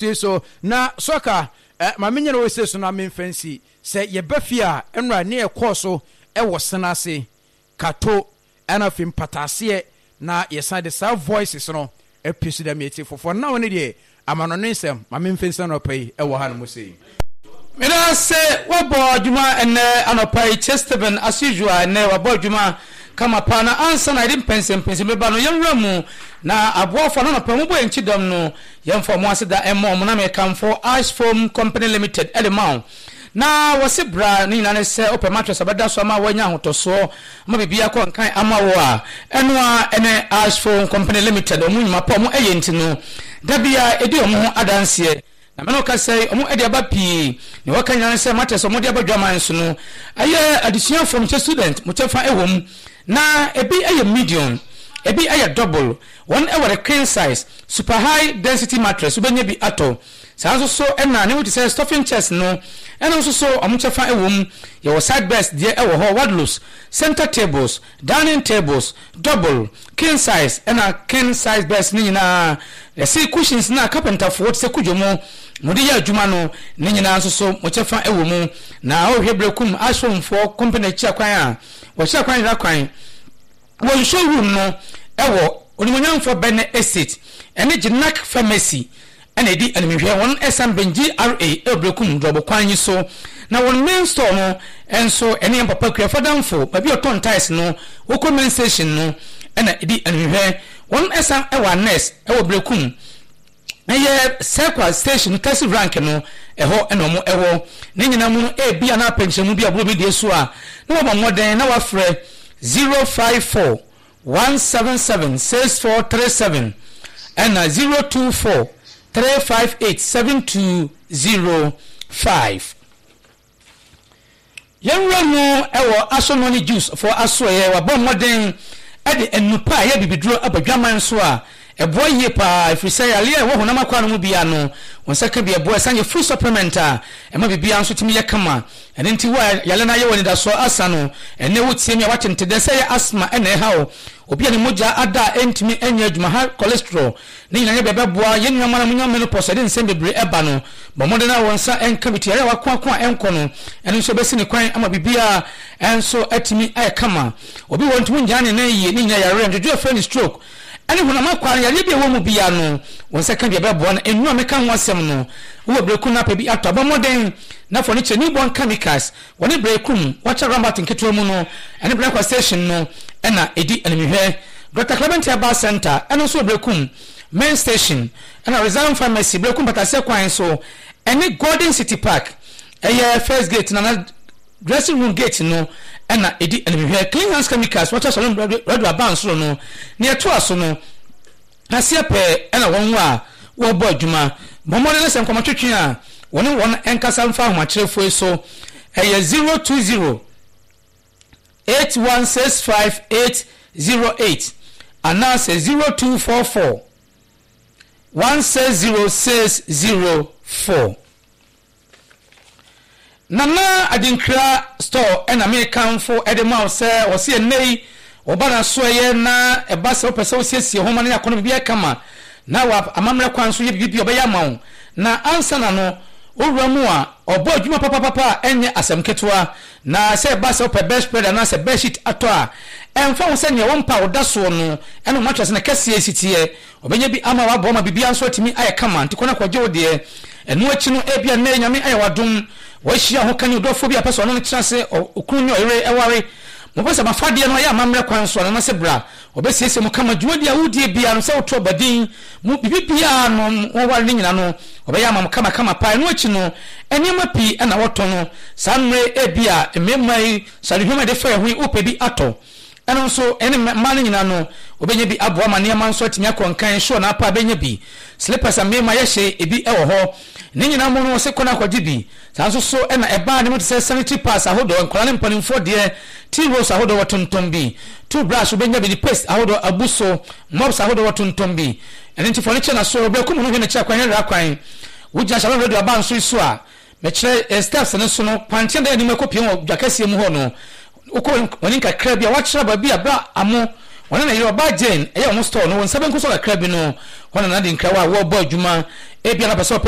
Sei so na soccer eh, ma menyɛ no wɔ sei so na memfa nsi. Sɛ yɛba fie a, ɛnora ne ɛkɔɔ so wɔ sene ase, kato, ɛna afei mpataaseɛ na yɛsan de saa voices no apue so dɛ meete fofoɔ. Now no deɛ amanɔne nsɛm, ma memfa nsi anɔpa yi wɔ hanom sei. Meda ase wabɔ adwuma ɛnɛ anɔpa yi Che Steven as usual ɛnɛ wabɔ adwuma kama paa na ansa na yɛde mpɛnsɛmpɛnsɛm bɛba no yɛnwura mu na aboafo a na anɔpa yi wɔbɔ yɛn kyidɔm no yɛmfa wɔn aseda mmɔ wɔn na mekamfo Ice Foam Company Limited de ma wo na wɔse bra ne nyinaa ne sɛ wopɛ mattress a bɛda so ama woanya ahotɔsoɔ ama biribi akɔ nkan ama wo a ɛno a ɛne Ice Foam Company Limited wɔn nnwuma pa wɔn ɛyɛ nti no da biara ɛdi wɔn ho adanseɛ. Na me ne wo kasa yi, wɔde aba pii. Nea wɔka nyinaa ne sɛ matters a wɔde aba dwaman so no, ɛyɛ adesuafoɔ, mekyɛ student, mo kyɛfa wɔ mu. Na ebi yɛ medium, ebi yɛ double. Wɔn wɔ the queen size, super high density mattress, wobɛnya bi atɔ. Saa nso so na nneɛma bi te sɛ stuffing chairs no, ɛno nso so wɔn kyɛfa wɔ mu. Yɛwɔ side beds deɛ wɔ hɔ, wardrobes, center tables, Dining tables, double, king size ɛna king size beds no nyinaa, yɛse cushions no a carpenterfoɔ te sɛ kudwo mo mode yɛ adwuma no ne nyinaa nso so mo kyɛfa wɔ mu. Na wohwɛ Berekum Ashomfoɔ company akyira kwan a, wɔkyerɛ kwan yera kwan wɔ nsuo room no wɔ Onimuonyamfoɔ Benne Estate ɛne Gyenak Pharmacy na edi animhwɛ. Wɔn san bɛn GRA wɔ Berekum Drɔbo kwan yi so. Na wɔn main store no nso ɛne yɛn papa Kuafo Adamfo, baabi a ɔtɔn tiles no, wokɔ main station no na edi animhwɛ. Wɔn san wɔ Annex wɔ Berekum, ɛyɛ Circle station no taxi rank no, ɛhɔ na wɔn wɔ. Ne nyinaa mu no, ebia na apɛ nkyerɛmu bi a ɔboro me deɛ so a, na wɔabɔ mmɔden na wɔafrɛ 054 177 6437 ɛna 024 358 7205. Yɛn wura mu wɔ Asɔnnɔ ne Jews foɔ asoɛeɛ, wabɔ mmɔden de nnupa a ɛyɛ abibiduro aba dwaman so a ɛboa yie pa ara ɛfiri sɛ yareɛ a ɛwɔ honam akwaa no mu biara no wo nsa ka bi ɛboa, ɛsan yɛ food supplement a ɛma biribiara nso tumi yɛ kama. Ɛno nti wo a yare no ayɛ wo anidasoɔ asa no, ɛnnɛ wotie me a woate nte dɛ sɛ ɛyɛ asthma na ɛha wo, obi a ne mogya ada a ɛntumi nyɛ adwuma, high cholesterol, ne nyinaa nyɛ bia ɛbɛboa yɛn nuanom a monya menopause a ɛde nsɛm bebree ɛba no. Bɔ mmɔden na wo nsa nka bi to yare a wakoako a ɛnkɔ no, ɛno nso ɛbɛsi ne kwan ama biribiara nso atumi ayɛ kama. Obi wɔ hɔ ntumi ngyina ne nan yie, ne nyinaa yareɛ ndwodwo a ɛfrɛ no stroke, ɛne honam akwaa no yareɛ bi a ɛwɔ mu biara no, wo nsa ka bi a ɛbɛboa no. Nnuro a meka ho asɛm no, wowɔ berɛku na apɛ bi atɔ a, bɔ mmɔden na fa w'ani kyerɛ Newborn Chemicals wɔ ne Berekum Water Roundabout nketewa mu no, ɛne Berekwa Station no na ɛdi animhwɛ. Dɔkta Clement Herbal Centre, ɛno nso wɔ Berekum Main Station, ɛna Resign Pharmacy, Berekum Pataseɛ kwan so, ɛne Golden City Park, ɛyɛ First Gate no anaa Dressing Room Gate no na ɛdi animhwɛ. Clean Hands Chemicals, Water Shalom Radio Abansoro no, nea ɛtoa so no, Aseɛ pɛɛ na wɔn a wɔrebɔ adwuma. Bɔ mmɔden na sɛ nkɔmmɔtwetwe a, wɔne wɔn nkasa mfa ahomakyerɛfoɔ yi so. Ɛyɛ 020 8165 808 anaasɛ 0244 160 604. Nana Adinkra store na mekamfo de ma wo sɛ wɔse ɛnnɛ yi wɔba n'asoɛeɛ na ɛba sɛ wopɛ sɛ wosiesie ho ma no yɛ akɔnnɔ biribiara kama na wɔ amammerɛ kwan so yɛ biribi bi a ɔbɛyɛ ama wo na ansa na no wowura mu a ɔbɔ adwuma papapapa a ɛnyɛ asɛm ketewa na sɛ ɛba sɛ wopɛ bed spread anaasɛ bed sheet atɔ a ɛmfa ho sɛ nea wo mpa a woda soɔ no ɛne wo mattress no kɛseɛ si teɛ Ɔbɛnya bi ama waboa ma biribiara nso atumi ayɛ kama, nti kɔ na kɔgye wo deɛ. Ɛno akyi no, ebia nnɛ yi Nyame ayɛ wo adom, woahyia ɔhokani, ɔdɔfoɔ bi a ɔpɛ sɛ ɔne no tena ase, okunu ne ɔyere ware. Mopɛ sɛ m'afadeɛ no yɛ amammerɛ kwan so anaa? Anaasɛ bra, ɔbɛsiesie mo kama, dwumadie a wodie biara no, sɛ woto abadin mu, biribi biara no, mo aware no nyina no, ɔbɛyɛ ama mo kama kama paa. Ɛno akyi no, nneɛma pii na wɔtɔ no saa mmerɛ yi, ebia mmarima yi, sradehuam a yɛde fa yɛn ho yi, wopɛ bi atɔ. Ɛno nso, ɛne mmaa no nyinaa no, wɔbɛnya bi aboa ma nneɛma nso atumi akɔ nkan, shoe anaa paa bɛnya bi, slippers a mmarima yɛ hye, ebi wɔ hɔ. Ne nyinaa mu no, wɔse kɔ na kɔgye bi. Saa nso so na ɛbaa nneɛma te sɛ sanitary pads ahodoɔ, nkwadaa ne mpanimfoɔ deɛ, tea rolls ahodoɔ wɔtontɔn bi, toothbrush wobɛnya bi, ne paste ahodoɔ abu so, mops ahodoɔ wɔtontɔn bi. Ɛno nti fa w'ani kyerɛ n'aso, berɛ kum no hwɛ n'akyiri akwan, hwɛ kwan. Wogyina Shalom Radio abansoro yi so a, Mekyerɛ yɛn steps no so no, kwankyɛn da anim ɛkɔpue wɔ dwa kɛseɛ mu hɔ no, wokɔ w'anim kakra bi a, wɔakyerɛ baabi a berɛ a Amo, wɔne ne yere ɔbaa Jane, ɛyɛ wɔn store no, wo nsa benkum so kakra bi no, hɔ na Nana Dinkrawa a wɔrebɔ adwuma. Ebia na pɛ sɛ ɔpɛ.